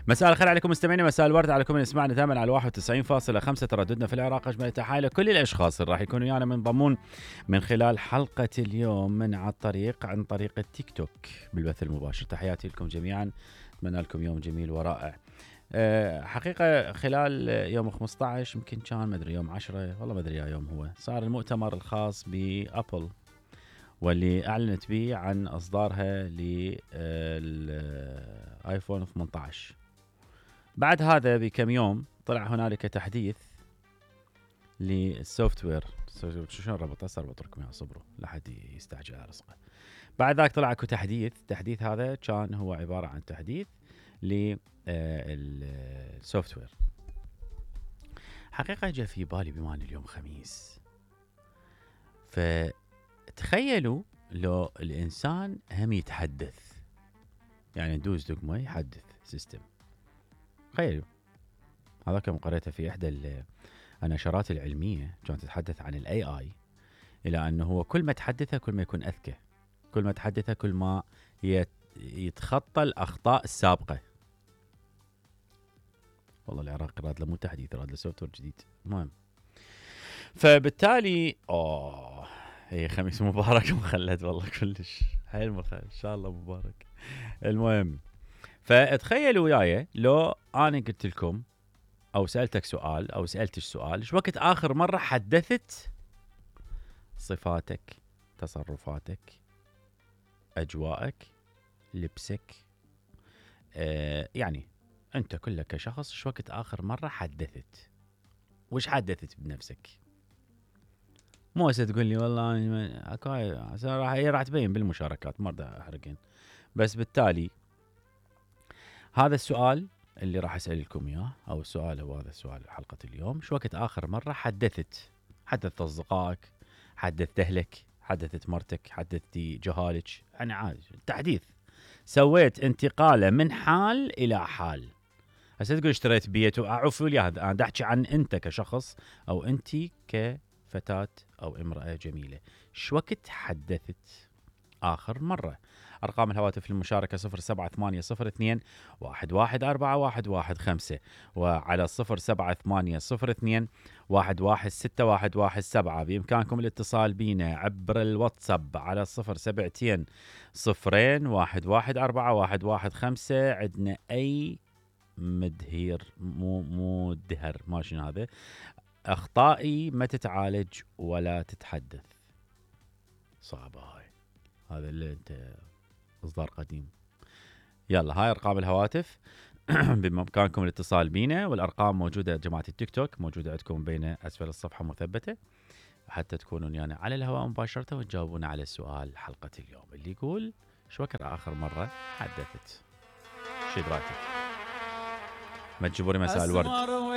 مساء الخير عليكم مستمعينا، مساء الورد على كل من يسمعنا دائما على 91.5 ترددنا في العراق. اجمل تحايل لكل الاشخاص اللي راح يكونوا ويانا منضمون من خلال حلقه اليوم من عن طريق التيك توك بالبث المباشر. تحياتي لكم جميعا، اتمنى لكم يوم جميل ورائع. حقيقه خلال يوم 15 يمكن كان مدري يوم 10 والله ما ادري يا يوم هو صار المؤتمر الخاص بابل، واللي اعلنت به عن اصدارها للايفون 18. بعد هذا بكم يوم طلع هنالك تحديث للسوفت وير. شلون ربط لكم يا صبروا لا حد يستعجل على رزقه. بعد ذاك طلع اكو تحديث هذا كان هو عباره عن تحديث للسوفت وير. حقيقه جاء في بالي بما ان اليوم خميس، فتخيلوا لو الانسان هم يتحدث، يعني ندوز دقمه يحدث سيستم. تخيلوا هذا كم قريته في احدى النشرات العلميه، كانت تتحدث عن الاي اي، الى انه هو كل ما تحدثه كل ما يكون اذكى، كل ما تحدثه كل ما يتخطى الاخطاء السابقه. والله العراق راد له مو تحديث، راد له سوفت وير جديد. المهم فبالتالي هي خميس مبارك مخلد والله كلش حيل مخلد، ان شاء الله مبارك. المهم فتخيلوا وياي لو انا قلت لكم او سالتك سؤال او سالتش سؤال، ايش وقت اخر مره حدثت صفاتك، تصرفاتك، اجواءك، لبسك، يعني انت كلك كشخص ايش وقت اخر مره حدثت؟ وش حدثت بنفسك؟ مو هسه تقول لي والله راح تبين بالمشاركات، ما بدي احرقين. بس بالتالي هذا السؤال اللي راح اسال لكم اياه، او السؤال هو هذا السؤال حلقه اليوم: شو وقت اخر مره حدثت اصدقائك، حدثت اهلك، حدثت مرتك، حدثتي جهالك، يعني عادي تحديث، سويت انتقاله من حال الى حال. هسه تقول اشتريت بيت وعفوا لي، هذا انا احكي عن انت كشخص او انت كفتاه او امراه جميله، شو وقت حدثت آخر مرة؟ أرقام الهواتف للمشاركة 0780211415 وعلى 078021161117. بإمكانكم الاتصال بنا عبر الواتساب على 0720211415. عندنا أي مدهير مو دهر ما شنو هذا، أخطائي ما تتعالج ولا تتحدث. صعبة هاي، هذا اللي انت اصدار قديم. يلا هاي ارقام الهواتف بامكانكم الاتصال بينا، والارقام موجوده جماعه التيك توك، موجوده عندكم بين اسفل الصفحه مثبته حتى تكونون يعني على الهواء مباشره وتجاوبون على السؤال حلقه اليوم اللي يقول شو وقت اخر مره حدثت؟ شو رايك؟ ما تجيبوا لي مساء الورد